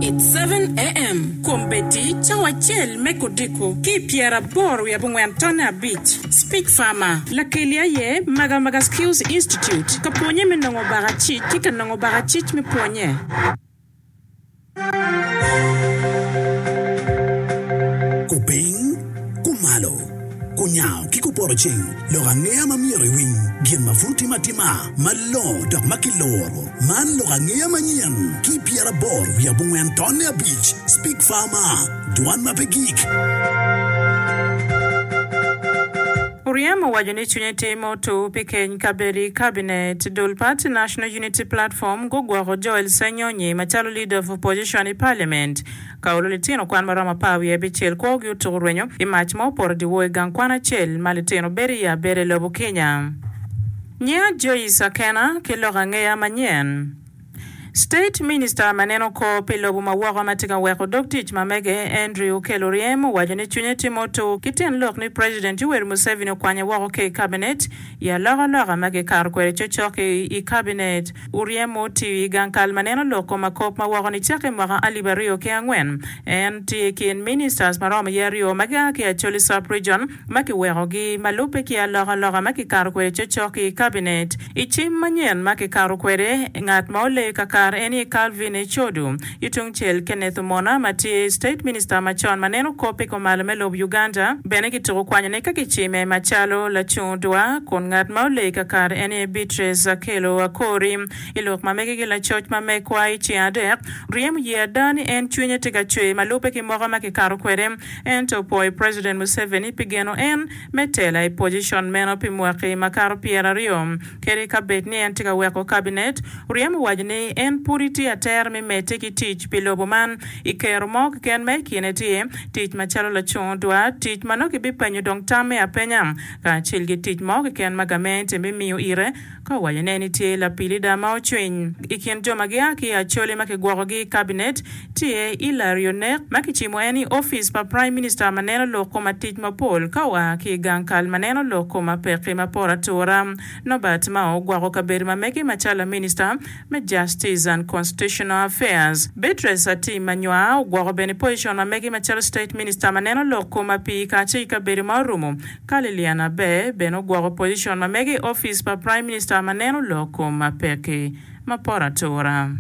It's 7am, Kombeddi cawa acel me kudiko ki i pyeraboro wiye abongwen tonne abic. Speech Farmer, Lakeli aye Magamaga Skills Institute ka pwonye me nongo bakacic ki ka nongo bakacic me pwonye. Kupiny, kumalo, kunyango ki kupoto ceng, lok angeya ma myero iwiny, gin ma pud timo atima, malongo dok ma kiluro. Man lok angeya manyen ki pyeraboro wiye abongwen tonne abic, Speak Farmer, Dwan ma pe gik. Oryem owaco ni cwinye tye me otur pi keny kabedo i kabinet. Dul pati National Unity Platform gugwoko Joel Ssenyonyi macalo Leader of Opposition i Parliament. Ka olo litino kwan maromo apar wiye abicel kwogi otuko rwenyo i mac ma opoto dyewor i gang kwan acel ma litino bedo iye abeda i lobo Kenya. Nyinga Joyce Akena ki lok angeya manyen. State Minister ma neno kor pi lobo ma woko ma tye ka weko dog tic ma mege, Andrew Okello Oryem owaco ni cwinye tye ma otur ki tyen lok ni President Yoweri Museveni okwanye woko ki i Cabinet i alokaloka ma kikato kwede cocok i Cabinet. Oryem otiyo i gang kal ma neno lok kom akop ma woko nicakke i mwaka alip 2004. En tye i kin Ministers ma romo iye aryo ma gia ki i Acholi Sub-Region ma kiwekogi ma lubbe ki alokaloka ma kikato kwede cocok i kabinet. I cim manyen ma kikato kwede, ngat ma oleyo kakare en aye Calvin Echodu. Ki tungcel, Kenneth Omona ma tye State Minister macon ma neno kop i kumalo me lob Uganda bene kituko kwanyone ka kicime macalo lacung dwa kun ngat ma oleyo kakare en aye Beatrice Akello Akori. I lok ma mege ki lacoc ma megwa i ceng adek, ryemo ye ada ni en cwinye tye ka cwer ma lubbe ki moka ma kikato kwede. Ento opwoyo President Museveni pi geno en me tela i pocicon meno pi mwaki makato pyeraryo. Kadi ka bed ni en tye ka weko kabinet, Oryem owaco ni en pudi tye atera me medde ki tic pi lobo man i kero mo keken ma i kine tye tic macalo lacung dwar, tic ma nongo kibipenyo dong tamme apenya, kacel ki tic mo keken ma gamente bimiyo ire. Ka owaco ne ni tye lapilida ma ocwiny i kin jo ma gia ki i Acholi ma kigwokogi i kabinet, tye Hillary Onek ma kicimo en i opic pa Prime Minister ma neno lok kom atic mapol ka oa ki i gang kal ma neno lok kom apeki ma poto atura. Norbert Mao ogwoko kabedo ma mege macalo laminista me Justice and Constitutional Affairs. Beatrice Atim Anywar ogwoko bene pocicon ma mege macalo State Minister ma neno lok kom apii kacel ki kabedo ma orumo Ka Lilian Aber bene ogwoko pocicon ma mege i opic pa Prime Minister ma neno lok kom pekki ma poto atura.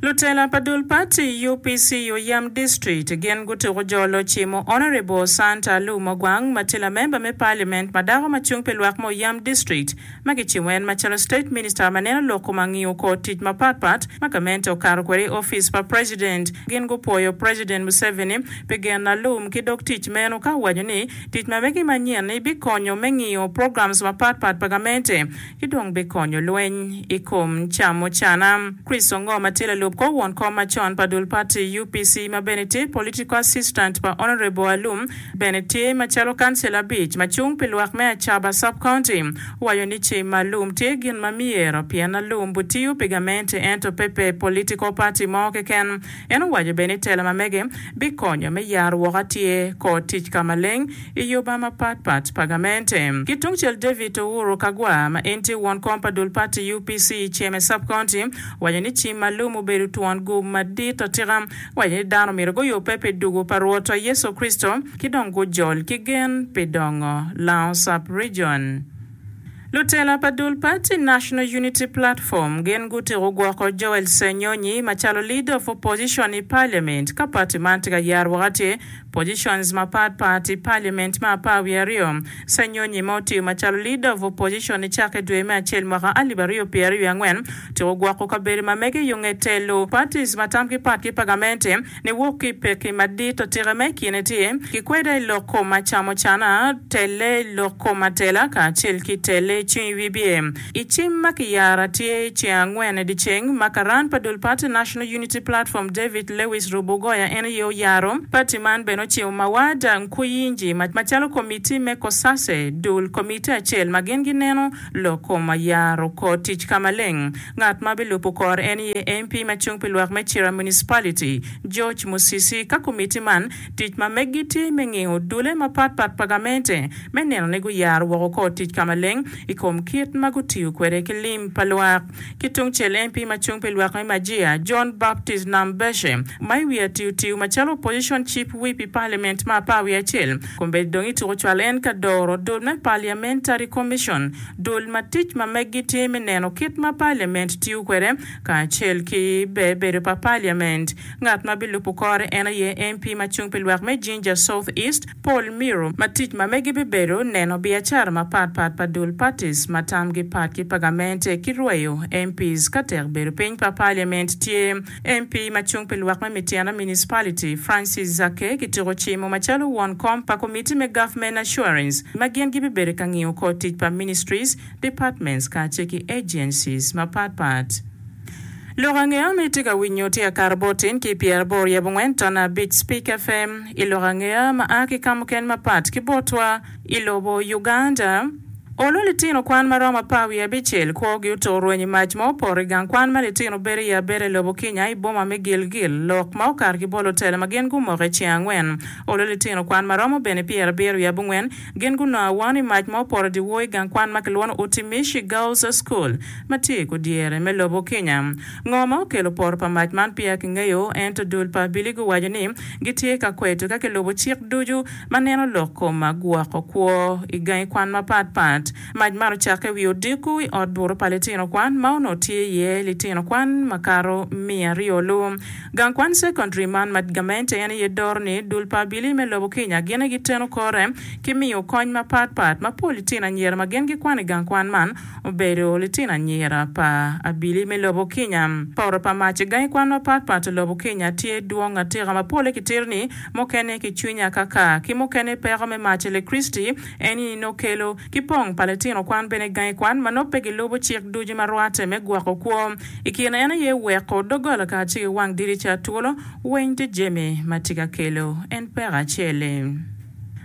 Lutela pa dul pati UPC Oyam District gin gutuko jolo cimo Honourable Santa Alum Ogwang ma tye lamemba me Parliament ma dako ma cung pi lwak me Oyam District ma kicimo en macalo State Minister ma neno lok kom angiyo kor tic mapat pat ma gamente okato kwede i opic pa President. Gin gupwoyo President Museveni pi geno alum ki dog tic meno ka owaco ni tic ma megi manyen-ni bikonyo me ngiyo programs mapat pat pa gamente ki dong bikonyo lweny i kom camucana. Chris Ongo ma tye lalub kor won kom macon pa dul party UPC ma bene tye Political Assistant pa Honourable Alum bene tye macalo kancila abic ma cung pi lwak me Acaba Sub-County, owaco ni cim alum tye gin ma myero pien alum butiyo pi gamente ento pe pe political party mo keken. En owaco bene ni tela ma mege bikonyo me yaro woko atye kor tic ka maleng i yoba mapat pat pa gamente. Ki tungcel David Owuru Kagwa ma en tye won kom pa dul party UPC i Ceme Sub-County owaco ni cim alum obedo twon gum madit atika Waco ni dano myero guyubbe pi dugo pa Rwotwa Yecu Kricito ki dong gujol ki gen pi dongo Lango Sub-Region. Lutela pa dul pati National Unity Platform gin gutiko gwoko Joel Ssenyonyi macalo Leader of Opposition i Parliament ka pati man tye ka yaro woko atir positions mapat pat i Parliament me apar wiye aryo. Ssenyonyi ma otiyo macalo Leader of Opposition nicakke dwe me acel mwaka 2024 Tyeko gwoko kabedo ma mege yo nge telo parties ma tamgi pat ki pa gamente ni wok ki i pekki madit atika ma i kine tye ki kweda i lok kom acamocana, telle i lok kom atela kacel ki telle i cing i wibye. I cim ma kiyaro tye i ceng angwen i dyeceng ma karan pa dul party National Unity Platform David Lewis Rubogoya en aye oyaro. Party man bene ocimo Mawada Nkuyinji macalo komiti me COSASE, dul komiti acel ma gin gineno Lok kom ayaro kor tic ka maleng. Ngat ma bilubo kore en aye MP ma cung pi lwak me Cira Municipality, George Musisi. Ka komiti man, tic ma meggi tye me ngiyo dule mapat pat pa gamente me neno ni guyaro woko kor tic ka maleng. i kom kit ma gutiyo kwede ki lim pa lwak. Ki tungcel, MP ma cung pi lwak me Majiya, John Baptist Nambeshe, ma i wiye atiyo tiyo macalo Opposition Chief Whip i Parliament me apar wiye acel, kombeddi dong ituko cwal en ka doro dul me Parliamentary Commission, dul ma tic ma meggi tye me neno kit ma Parliament tiyo kwede kacel ki ber bedo pa Parliament. Ngat ma bilubo kore en aye MP ma cung pi lwak me Jinja South East, Paul Miru, ma tic ma megi bibedo neno biacara mapat pat pa dul parties ma tamgi pat ki pa gamente ki rweyo MPs ka tek bedo piny pa Parliament tye. MP ma cung pi lwak me Mityana Municipality, Francis Zaake kitiko cimo macalo won kom pa komiti me Government Assurance ma gin gibibedo ka ngiyo kor tic pa ministries, departments kacel ki agencies mapat pat. Lok angeya ma itye ka winyo tye akato bot tin ki pyeraboro wiye abongwen tona abic Speak FM i lok angeya ma a ki ka mukene mapat ki botwa i lobo Uganda. Olo litino kwan ma romo apar wiye abicel kwogi otur rweny i mac ma opoto i gang kwan ma litino bedo iye abeda i lobo Kenya i boma me Gilgil. Lok ma okato ki bot lutela ma gin gumoko i ceng angwen. Olo litino kwan ma romo bene pyerabiro wiye abongwen gin gunongo awano i mac ma opoto dyewor i gang kwan ma kilwongo Utimishi Girls School ma tye i kudyere me lobo Kenya. Ngo ma okelo poto pa mac man peya kingeyo, ento dul pa abili guwaco ni gitye ka kweto ka kilubo cik ducu ma neno lok kom gwoko kwo i gangi kwan mapat pat. Mac man ocakke i wi odiko i ot buto pa litino kwan ma onongo tye iye litino kwan makato miaryo lu. Gang kwan cekondri man ma gamente en aye doro ni dul pa abili me lobo Kenya gin aye giteno kore ki miyo kony mapat pat ma pol litino anyira ma gin gikwano i gang kwan man obedo litino anyira pa abili me lobo Kenya. Poto pa mac i gangi kwan mapat pat i lobo Kenya tye dwong atika ma pole kitito ni mukene ki cwiny akaka ki mukene peko me mac elektriciti eni nongo kelo ki pong pa litino kwan bene i gangi kwan ma nongo pe gilubo cik ducu ma rwate me gwoko kwo. I kine en aye weko doggola kacel ki wang dirica twolo weng tye jami ma tye ka kelo en peko acel-li.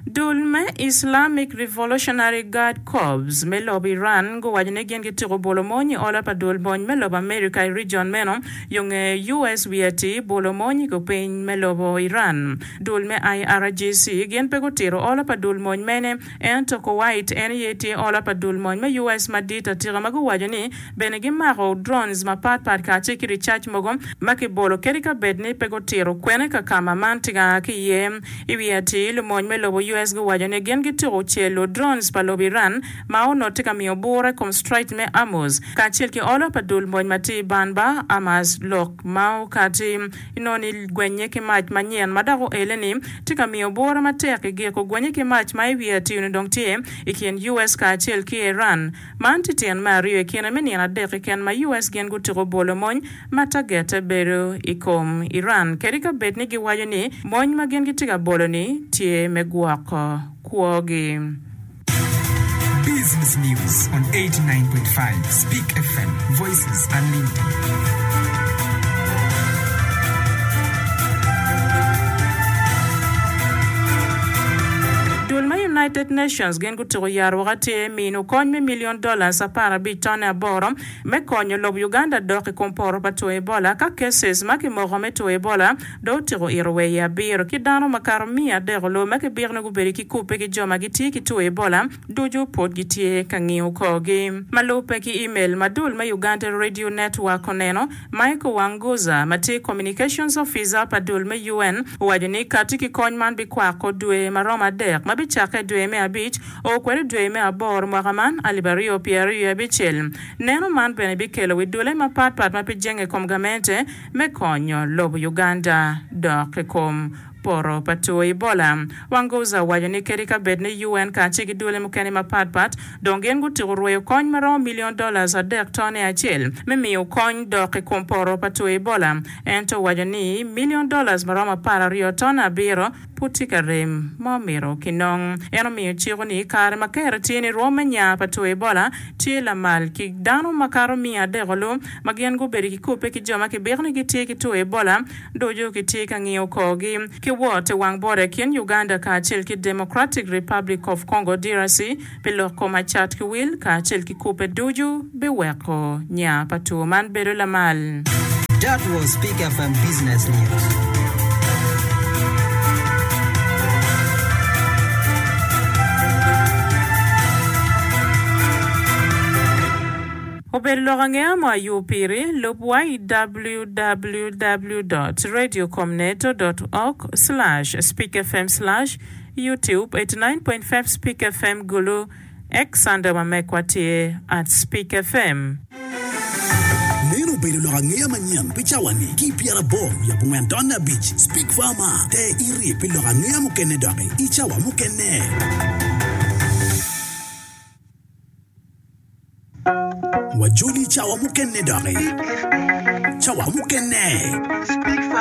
Dul me Islamic Revolutionary Guard Corps me lobo Iran guwaco ni gin gitiko bolo mony i ola pa dul mony me lobo America i region meno yo nge US wiye atir bolo mony i kupiny me lobo Iran. Dul me IRGC gin pe gutito ola pa dul mony mene ento Kuwait en aye tye ola pa dul mony me US madit atika ma guwaco ni bene gimako drones mapat pat kacel ki ricac mogo ma kibolo kadi ka bed ni pe gutito kwene ka kama man tye ka a ki iye. I wi atir, lumony me lobo US guwaco ni gin gituko celo drones pa lobo Iran ma onongo tye ka miyo bura i kom Strait me Hormuz kacel ki olo pa dul mony ma tye i Banba Hamas. Lok ma okati inongo ni gwenye ki mac manyen ma dok oele-ni tye ka miyo bura matek i giko gwenye ki mac ma i wi atir-ni dong tye i kin US kacel ki Iran. Man tye tyen me aryo i kine me nino adek keken ma US gin gutiko bolo mony ma tagette bedo i kom Iran kadi ka bed ni giwaco ni mony ma gin gitye ka bolo-ni tye me gwoko kwogi. Business News on 89.5 Speak FM, Voices Unlimited. Dul me United Nations gin gutuko yaro woko atir mino kony me million dollars 15 tonne aboro me konyo lobo Uganda dok i kom poto pa two Ebola ka cases ma kimoko me two Ebola dong otyeko ito wa iye abiro ki dano makato miya adek olu ma kibiko ni gubedo ki kubbe ki jo ma gitye ki two Ebola ducu pwod gitye ka ngiyo korgi. Ma lubbe ki email ma dul me Uganda Radio Network oneno, Michael Wanguza ma tye Communications Officer pa dul me UN owaco ni kati ki kony man bikwako dwe maromo adek ma bicakke dwe me abic o kwede dwe me aboro mwaka man 2026. Neno man bene bikelo wi dule mapat pat ma pe jenge i kom gamente me konyo lobo Uganda dok i kom poto pa two Ebola. Wanguza owaco ni kadi ka bed ni UN kacel ki dule mukene mapat pat dong gin gutiko rweyo kony ma romo milion dollars adek tone acel me miyo kony dok i kom poto pa two Ebola, ento owaco ni milion dollars ma romo 12 tone abiro pud tye ka rem ma omito kinong. En omiyo ciko ni kare ma kero tye ni rwom me nya pa two Ebola tye lamal ki dano makato miya adek olu ma gin gubedo ki kubbe ki jo ma kibiko ni gitye ki two Ebola ducu kitye ka ngiyo korgi ki wot i wang bota i kin Uganda kacel ki Democratic Republic of Congo, DRC, pi lok kom acat ki wil kacel ki kubbe ducu biweko nya pa two man bedo lamal. That was Peak FM Business News. Obedo lok angeya mo ayub piri, lub wa i www dot radiocomneto dot org slash speakfm slash youtube 89.5 speak fm Gulu X anda ma mekwa tye at speak fm. Meno obedo lok angeya manyen pi cawa-ni ki i pyeraboro wiye abongwen tonne abic. Speak Farmer, Ter iri pi lok angeya mukene doki i cawa mukene. Wajoli i cawa mukene doki. Cawa mukene.